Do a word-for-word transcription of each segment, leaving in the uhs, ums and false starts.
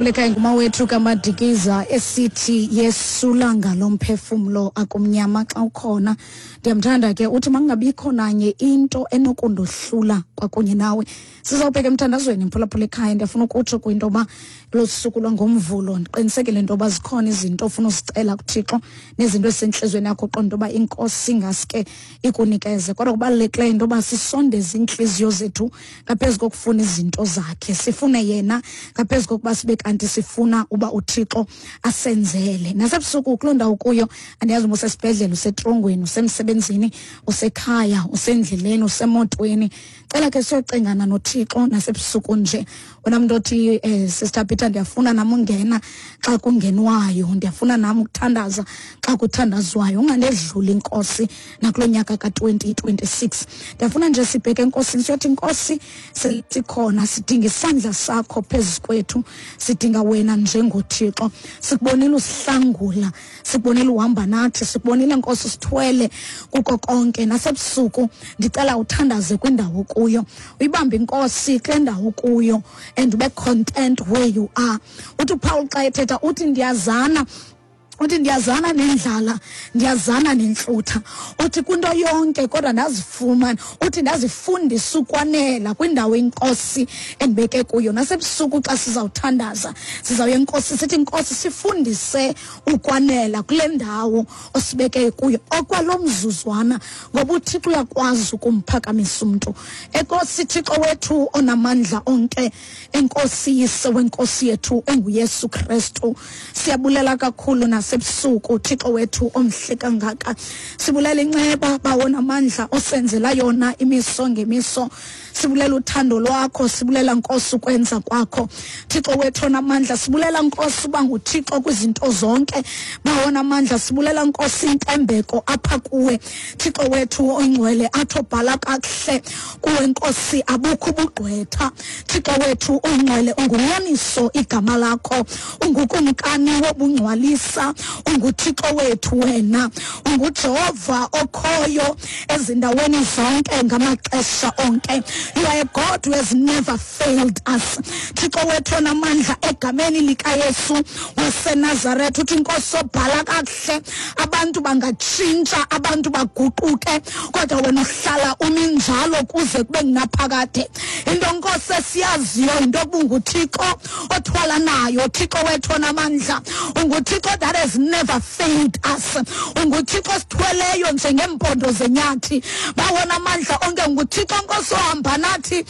Lekhaya ngumawethu kaMadikiza esithi yesula ngalomphefumlo akumnyama xa ukhona. Ndiyamthanda ke, uthi makungabikho nanye into enokundohlula kwakunye nawe. Sizawubheka emthandazweni, mphulaphula ekhaya. Ndiyafuna ukutsho kwinto yoba lo suku lwangoMvulo, ndiqinisekile into yoba zikhona izinto ofuna uzicela kuThixo nezinto ezisentliziyweni yakho, uqonda into yoba iNkosi ingaske ikunikeze. Kodwa kubalulekileyo into yoba sisondeze iintliziyo zethu ngaphezu kokufuna izinto zakhe, sifune yena ngaphezu kokuba sibe kanti sifuna uba uThixo asenzele. Nasebusuku kuloo ndawo kuyo, andiyazi uba usesibhedlele, usetrongweni, usemsebenzini, usekhaya, usendleleni, usemotweni, cela ke siyocengana noThixo nasebusuku nje. Wena mntu othi, eh, "Sister Peter, ndiyafuna nam ungena xa kungenwayo, ndiyafuna nam ukuthandaza xa kuthandazwayo, ungandedluli iNkosi nakulo nyaka ka-twenty twenty-six." Ndiyafuna nje sibheke eNkosini, siyothi, "Nkosi, sikhona, sidinga isandla sakho phezu kwethu, sidinga wena njengoThixo. Sikubonile usihlangula, sikubonile uhamba nathi, sikubonile Nkosi usithwele kuko konke. Nasebusuku ndicela uthandaze kwindawo kuyo, uyibambe iNkosi kule ndawo kuyo and ube content where you are." Uthi uPaul xa ethetha, uthi ndiyazana uthi ndiyazana nendlala, ndiyazana nentlutha." Uthi kwinto yonke kodwa ndazifumana, uthi ndazifundisa ukwanela kwindawo iNkosi endibeke kuyo. Nasebusuku xa sizawuthandaza, sizawuya eNkosi sithi, "Nkosi, sifundise ukwanela kule ndawo osibeke kuyo okwalo mzuzwana," ngoba uThixo uyakwazi ukumphakamisa umntu. Enkosi, Thixo wethu onamandla onke, enkosi Yise wenkosi yethu enguYesu Kristu. Siyabulela kakhulu nasebusuku, Thixo wethu omhle kangaka. Sibulela inceba bawona amandla osenzela yona imiso ngemiso. Sibulela uthando lwakho, sibulela Nkosi ukwenza kwakho, Thixo wethu onamandla. Sibulela Nkosi uba nguThixo kwizinto zonke, bawona amandla. Sibulela Nkosi intembeko apha kuwe, Thixo wethu oyingcwele, athi obhala kakuhle kuwe Nkosi abukho ubugqwetha. Thixo wethu oyingcwele, ungunyaniso igama lakho, ungukumkani wobungcwalisa, unguThixo wethu wena, unguJehova okhoyo ezindaweni zonke ngamaxesha onke. You are a God who has never failed us, Thixo wethu onamandla. Egameni likaYesu waseNazaretha, uthi Inkosi obhala kakuhle, abantu bangatshintsha, abantu baguquke, kodwa wena uhlala umi njalo kuze kube ngunaphakade. Into Nkosi esiyaziyo yinto yokuba unguThixo othwala nayo, Thixo wethu onamandla, unguThixo that has never failed us, unguThixo osithweleyo njengeempondo zenyathi, bawona amandla onke, unguThixo Nkosi ohamba nathi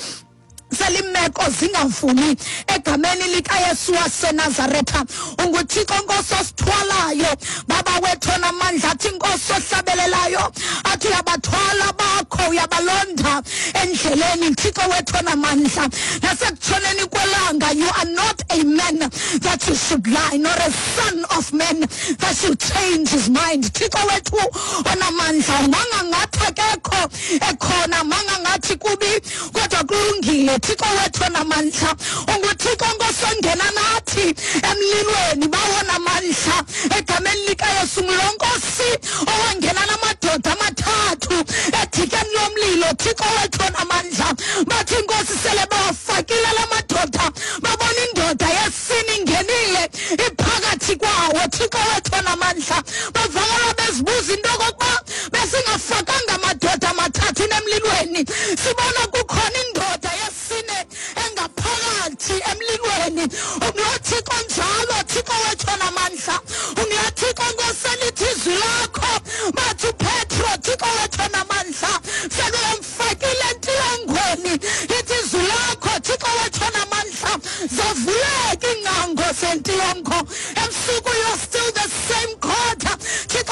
selimeko zingavumi. Egameni likaYesu waseNazaretha, unguThixo Nkosi osithwalayo, Baba wethu onamandla. Athi Inkosi ohlabelelayo, athi uyabathwala bakho, uyabalonda endleleni, Thixo wethu onamandla. Nasekutshoneni kwelanga, you are not a man that you should lie, nor a son of man that should change his mind. Thixo wethu onamandla, mangangathi akekho ekhona, mangangathi kubi kodwa kulungile, Thixo wethu onamandla. UnguThixo Nkosi ongena nathi emlilweni, bawona amandla. Egameni likaYesu, ngulo Nkosi owangena namadoda amathathu edikeni lomlilo, Thixo wethu onamandla. Bathi Inkosi sele bawafakile la madoda, babona indoda yesine ingenile iphakathi kwawo, Thixo wethu onamandla. Bavakala bezibuza into okokuba besingafakanga amadoda amathathu emlilweni, sibona kukhona indoda yesine engaphakathi emlilweni. UnguloThixo njalo, Thixo wethu onamandla. UnguloThixo Nkosi elithi izwi lakho, bathi uPetro, Thixo wethu onamandla, sebemfakile entilongweni, lithi izwi lakho, Thixo wethu onamandla, zavuleka iingcango zentilongo. Ebusuku, you're still the same.